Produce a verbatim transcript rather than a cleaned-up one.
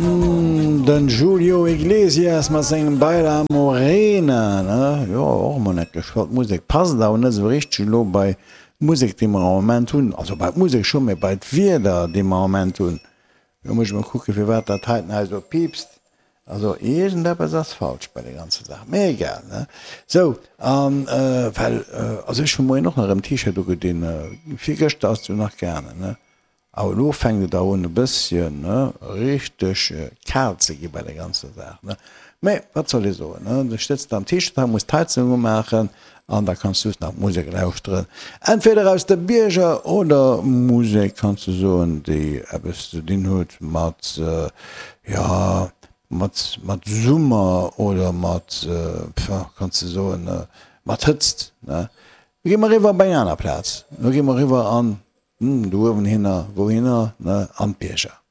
Den Julio Iglesias mat sengem Baila Morena, ne? Jo, och emol net geschwat. D'Musek passt awer net esou richteg elo bei d'Musek, déi mer am Moment hunn. Also bei d'Musek schonn, mee bei d'Wieder, déi mer am Moment hunn. Elo muss ech mol kucken, firwat dat heiten hei esou piipst. Also iergendeppes ass falsch bei der ganzer Saach, mee egal, ne? Sou, an well, also ech hu moien och nach erëm T-Shirt ugedinn, virgëschter ass et jo nach gaangen, ne? Awer elo fänkt et awer un e bësschen, ne, richteg kal ze gi bei der ganzer Saach, ne? Mee wat soll ee soen, ne? Du sëtz am T-Shirt hei, muss d'Heizung umaachen an da kanns du just nach Musek lauschteren, entweder aus de Bierger oder Musek, kanns du soen, déi eppes ze dinn huet mat, jo, mat mat Summer oder mat, kanns de soen, mat Hëtzt, ne? Lo gi mer eriwwer op eng aner Plaz, lo gi mer eriwwer an, do uewen hinner, wouhinner, ne, an d'Bierger.